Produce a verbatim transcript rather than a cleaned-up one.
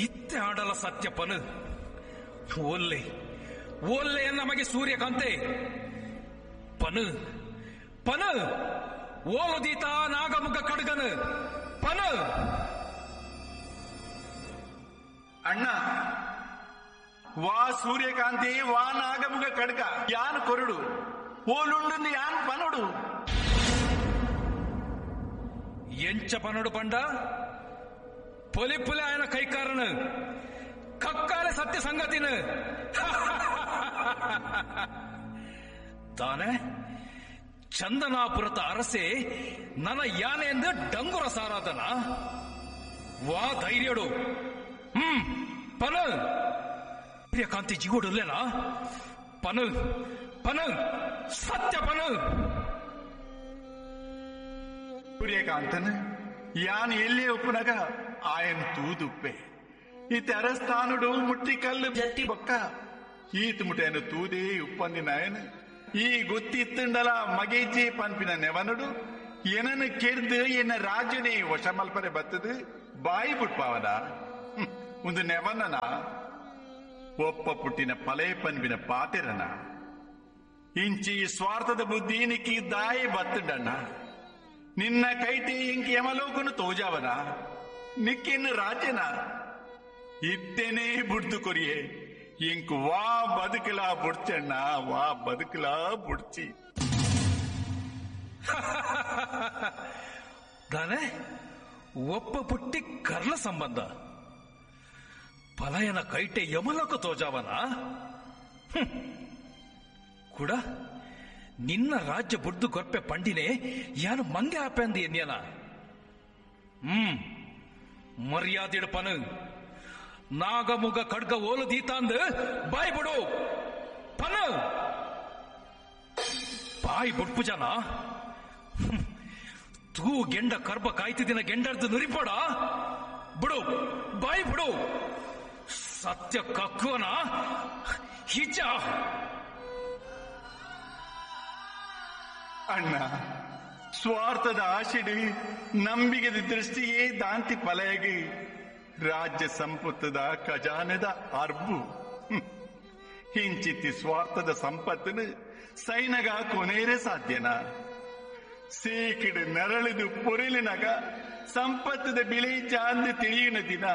ಇತ್ತೆ ಆಡಲ ಸತ್ಯಪ್ಪನು ಓಲ್ಲೆ ಓಲ್ಲೆ ನಮಗೆ ಸೂರ್ಯಕಾಂತೆ ಪನು ಪನು ಓಲುದೀತ ನಾಗಮುಗ ಕಡ್ಗನು ಪನು. ಅಣ್ಣ ವಾ ಸೂರ್ಯಕಾಂತಿ ವಾ ನಾಗಮುಗ ಕಡ್ಗ ಯಾನ್ ಕೊರಡು ಓಲುಂಡು ಯಾನ್ ಪನೊಡು. ಎಂಚ ಪನೊಡು ಪಂಡ ಪೊಲಿಪುಲೆ ఆయన ಕೈಕಾರನು ಕಕ್ಕಾಲೆ ಸತ್ಯ ಸಂಗತಿನ ತಾನೆ ಚಂದನಾಪುರದ ಅರಸೆ ನನ್ನ ಯಾನೆ ಎಂದು ಡಂಗುರ ಸಾರಾದನ ವಾ ಧೈರ್ಯಡು. ಹ್ಮ್ ಪನ ಪ್ರಿಯಕಾಂತಿ ಜಿಗೋಡುಲ್ಲೇನಾ ಪನು ಪನು ಸತ್ಯ ಪನು. ಸೂರ್ಯಕಾಂತನ ಯಾನ್ ಎಲ್ಲಿ ಒಪ್ಪುನಗ ಆಯನ್ ತೂದುಪ್ಪೆ ಈ ಅರಸ್ಥಾನುಡು ಮುಟ್ಟಿ ಕಲ್ಲು ಜಟ್ಟಿ ಬೊಕ್ಕ ಈತ್ ಮುಟೆಯನ್ನು ತೂದೇ ಉಪ್ಪಂದಿನಾಯನ್ ಈ ಗೊತ್ತಿತ್ತುಂಡಲ ಮಗೇಜಿ ಪನ್ಪಿನ ನೆವನುಡು ಏನನ್ನು ಕೆರ್ದು ಎನ್ನ ರಾಜ್ಯನೇ ವಶಮಲ್ಪರೆ ಬತ್ತದು ಬಾಯಿ ಬುಟ್ಪಾವನ ಒಂದು ನೆವನನ ಒಪ್ಪ ಪುಟ್ಟಿನ ಪಲೆ ಪನ್ಪಿನ ಪಾತೆರನ ಇಂಚಿ ಸ್ವಾರ್ಥದ ಬುದ್ಧಿ ನಿಕ್ಕಿ ದಾಯಿ ಬತ್ತುಂಡಣ್ಣ ನಿನ್ನ ಕೈಟಿ ಇಂಕಿ ಯಮಲೋಕನು ತೋಜಾವನ ನಿಕ್ಕಿನ್ನು ರಾಜ್ಯನ ಇತ್ತೇನೆ ಬುಡ್ದು ಕೊರಿಯೆ ಇಂಕು ವಾ ಬದುಕಲಾ ಬುಡ್ಚಣ್ಣ ವಾ ಬದುಕಲಾ ಬುಡ್ಚಿ. ದಾನೆ ಒಪ್ಪ ಪುಟ್ಟಿ ಕರ್ಲ ಸಂಬಂಧ ಪಲಯನ ಕೈಟೆ ಯಮಲೋಕ ತೋಜಾವನ ಕೂಡ ನಿನ್ನ ರಾಜ್ಯ ಬುಡ್ದು ಕೊರ್ಪೆ ಪಂಡಿನೇ ಯಾನು ಮಂಗೆ ಆಪೆಂದು ಎನ್ಯನ. ಹ್ಮ್ ಮರ್ಯಾದಿಡಪನು ನಾಗಮುಗ ಖಡ್ಗ ಓಲು ದೀತಾಂದು ಬಾಯ್ ಬಿಡು ಪನು ಬಾಯ್ ಬುಡ್ಪು ಜನ ತೂ ಗೆಂಡ ಕರ್ಬ ಕಾಯ್ತಿದಿನ ಗೆಂಡರ್ದು ನುರಿಪೋಡ ಬಿಡು ಬಾಯ್ ಬಿಡು ಸತ್ಯ ಕಕ್ಕುವನ ಹಿಜ. ಅಣ್ಣ ಸ್ವಾರ್ಥದ ಆಶೆಡು ನಂಬಿಗೆದ ದೃಷ್ಟಿಯೇ ದಾಂತಿ ಪಲಯಗೆ ರಾಜ್ಯ ಸಂಪತ್ತದ ಖಜಾನೆದ ಅರ್ಬು ಹಿಂಚಿತ್ತಿ ಸ್ವಾರ್ಥದ ಸಂಪತ್ತನು ಸೈನಗ ಕೊನೇರೆ ಸಾಧ್ಯನ ಸೀಕಿಡು ನರಳಿದು ಪೊರಿಲಿನಗ ಸಂಪತ್ತದ ಬಿಳಿ ಚಾಂದು ತಿಳಿಯುನ ದಿನ